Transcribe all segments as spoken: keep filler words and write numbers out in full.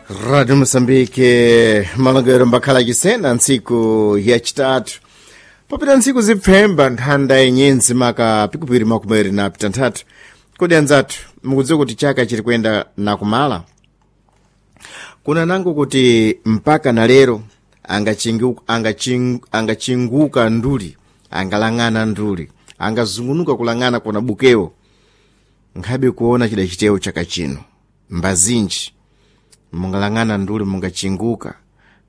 Rádio Moçambique, malongo mbakhala cisena ntsiku yacitatu popita ntsiku zipfemba nthanda yenyenzi maka pikupiri makumeri na pitanthatu. Kodi anzathu, mukudziwa kuti chaka chiri kuyenda nakumala? Kuna nango kuti mpaka na lero angachingu- angachingu- angachinguka nduli, angalang'ana nduli, angazungunuka kulang'ana kuna bukewo nkhabe kuona chida chitewo chaka chino. Mbazinji mungalang'ana nduli, mungachinguka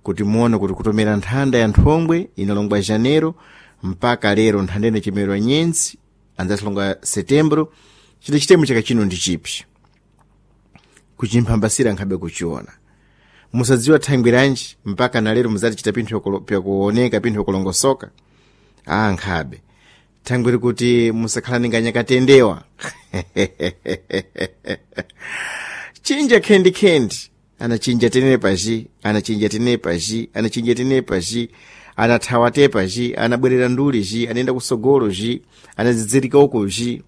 kuti muone kuti kutomera nthanda ya nthongwe inalongwa janeiro mpaka lero nthanda ine chimerwa nyenzi anzasilonga setembro, chida chitemo chaka chino ndi chipi kuchimphambasira nkhabe kuchiona. Musadziwa thangwi lanji mpaka na lero muzati chita pinthu yokolo- pyakuoneka, pinthu yokulongosoka. Ah, nkhabe thangwi likuti musakhala nganyakatendewa. Chinja khendi-khendi, anachinja tenere paji, anachinja tenere paji, anachinja tenere paji, anathawa te paji, anabwerera nduli ji, anayenda kusogolo ji, anadzidzirika uko ji.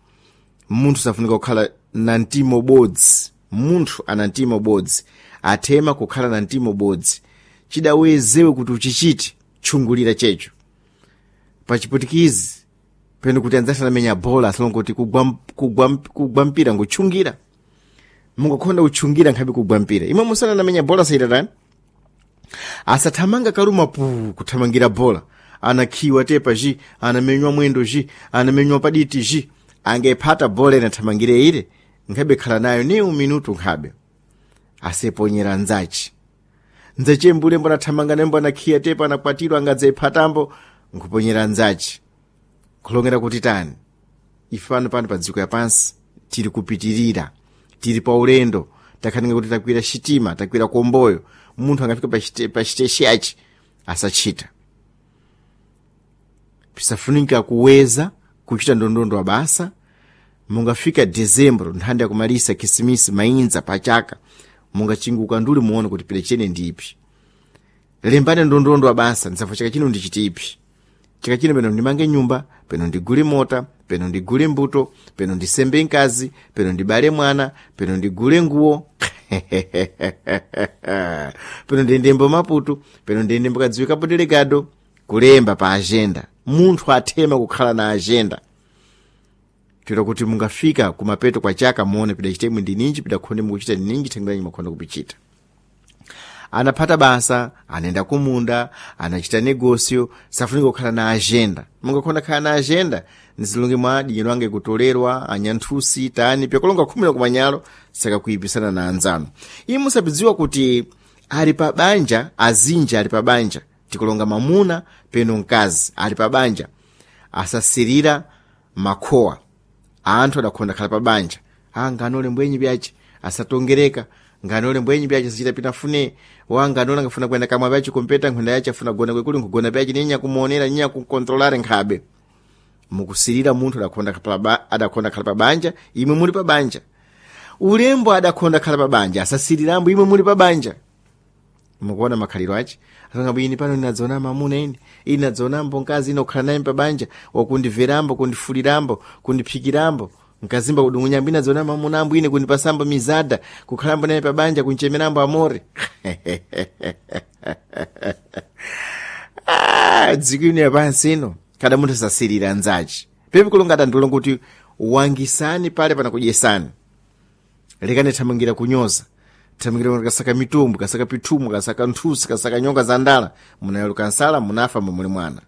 Munthu safunika kukhala na mtima ubodzi. Munthu ana mtima ubodzi, athema kukhala na mtima ubodzi. Chidawezewe kuti uchichite tchungulira checho pachiputikizi peno kuti anzathu anamenya bola asalonga kuti kugwa, kugwa, kugwa mpira ngutchungira. Mungakhonda kutchungira nkhabe kugwa mpira imwe musana anamenya bola sayitatani asathamanga kaluma pu kuthamangira bola, anakhiwa tepa ji, anamenywa mwendo ji, anamenywa paditi ji, angephata bola inathamangire ile nkhabe khala nayo ni minutu nkhabe aseponyera nzachi nzache mbule mbona thamanga nembo anakhiya tepa anakwatirwa angadzephatambo nkuponyera nzachi kulongera kuti tani. Ife pano pano pa dziko yapansi tiri kupitirira, tiri pa ulendo, takhaninga kuti takwira xitima, takwira komboyo. Munthu angafika pa xite- pa xiteshi yachi asachita pisafunika kuweza kuchita ndondondo wa basa. Mungafika dezembro, nthanda yakumalisa khisimisi mainza pachaka, mungachinguka nduli muone kuti pile chene ndipi. Lembani ndondondo wa basa, ndisafo chaka chino ndichitipi chaka chino, peno ndimange nyumba, peno ndigule mota, peno ndigule mbuto, peno ndisembe mkazi, peno ndibale mwana, peno ndigule nguwo, peno ndiyendembo Maputo, peno ndiyendembo kadziwika podelegado. Kulemba pa agenda, munthu athema kukhala na agenda toera kuti mungafika kumapeto kwa chaka muone pida chitemwe ndi ninji, pida khonde mukuchita ndi ninji, thangwiranyi makhonde kupichita. Anaphata basa, anaenda kumunda, anachita negosio, safunika kukhala na agenda. Mungakhonda khala na agenda nzilungi mwa dinyero ange kutolerwa anyanthusi tani pyakulonga khumi na kumanyalo sakakuipisana na anzanu. Iye musapidziwa kuti ali pa banja, azinja ali pa banja, tikulonga mamuna peno mkazi ali pa banja, asasirira makhowa anthu adakhonda khala pa banja. Ah, nganole mbwenyi byace asatongereka, nganole mbwenyi byace asachita pinafune wa nganole angafuna kuyenda kamwa byace kompeta nkhunda yace afuna gona kwekuli nkugona byace ninya kumuonera ninya kukontrolare nkhabe. Mukusirira munthu adakhonda khala pa- adakhonda khala pa banja, imwe muli pa banja. Ulembo adakhonda khala pa banja asasirirambo, imwe muli pa banja. Mukuona makhaliro ace asanga bwini pano ndinadzaona mamuna ine, ine ndadzaonambo mkazi ine kukhala naye pabanja wakundimverambo, kundifulirambo, kundiphikirambo, nkazimba kudungunyambo, ine adzaona mamuna ambo ine kundipasambo mizada, kukhalambo naye pabanja, kunchemerambo amore. Ah, dziko ino yapansi ino kada munthu asasirira nzace pepi kulonga adandiulonga kuti wangisani pale panakudyesani. Lekani thamangira kunyoza, thamangira kasaka mitumbu, kasaka pithumu, kasaka nthusi, kasaka nyonga za ndala, munayaluka nsala, munafa momuli mwana.